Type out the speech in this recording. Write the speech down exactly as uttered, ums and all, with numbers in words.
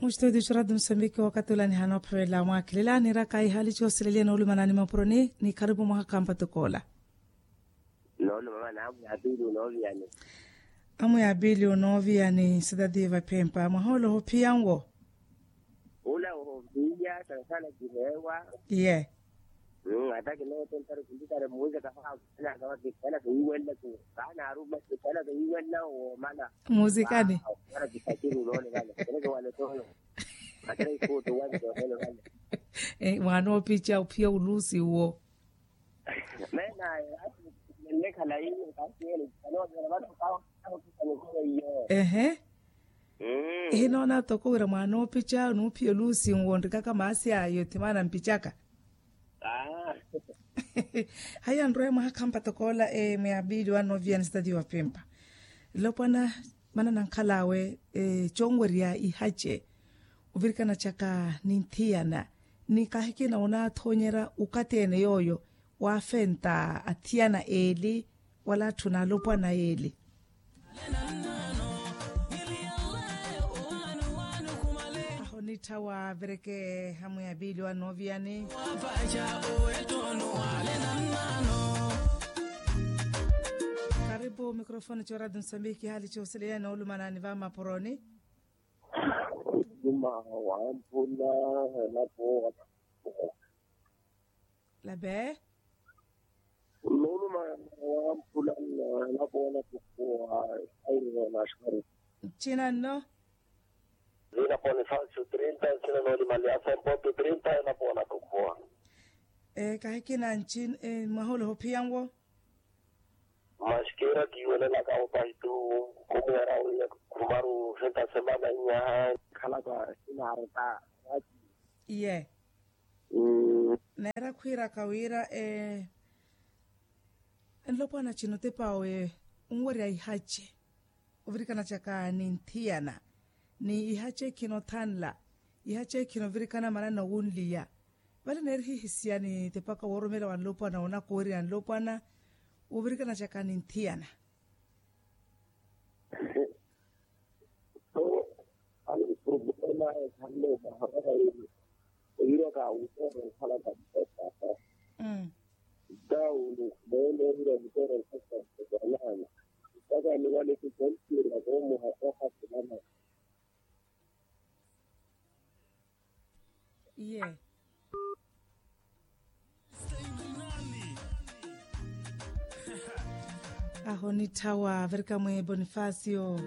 Muxitodicho ratu musambiki wakati ula nihana ophavela mwakhelela niraka ihali chosileliya noolumana ni mapuroni ni kharipu mwaha kampatokoola. Noolumana amu ya pili unooviyani. Amu ya pili unooviyani sitati vaphempa mwaha ula ohophiya nwo. Ula ohophiya sana sana kihewa. Ye. Ata kinootentari kuntitari muuzeka haakusenaka wakikana keyiwenna ku kaana aruma kikana keyiwenna woomana. Muuzikani. Ara kisakiri uloole vale kene kiwale toyo. Atara ikuutu wale toyo vale. Mwaana oopica ophiya uluusi uwo. Menaye ati nennekhala yini kasi yene kanoovela vano kawo. Ehe. Ehinoona toko wira mwaana oopica nuuphiya oluusi nwo nrikaka maasi ayo ti maana mpicaka. Haya nrweye mwaha khampa tokoola muyapili wa novia ni sitati wa pempa. Nlopwana mana nankhal'awe conwerya ihace ovirikana caka ni nthiyana ni kahikina onaathonyerya okathi ene yooyo waafenta athiyana eeli wala atthu n'alopwana eeli. Aho nittha waavireke hamu ya piili wa nooviyani. Karipu mikrofoni cooratu nsambiki haali cooseleya noolumanani va mapuroni. Numa wampuna elapo. Lape. Numa wampuna elapo elapo. Airina nashukuru. Ncina nno. Vina ponifasio trinta ncina nooli maliasa mpotu trinta elapo elapo. Kahikina ncina mwaha ula ohophiya nwo. Maskira kiiwelelaka opahi tu. Khumweera wiya khumaru henta semana inyaha. Khalaka sinaareta. Iye. Neera khwiiraka wira nlopwana cino tepa awe onwerya ihace ovirikana caka ni nthiyana ni ihace khino thanla ihace khino ovirikana manana owunliya. Vale neeri hihisiya ni tepaka woorumela wa nlopwana woonakowerya nlopwana wovirikana caka ni nthiyana. So ani problema ekhanle omaharaka yini. Eyiraka awuteera okhalaka mutepaka. Dawu ni khulele eyira mutera nkasa mutepaka nani. Mpaka ni wale kukontiera komuha okasilana. Iye. Aho nitthawa virika mwe bonifacio.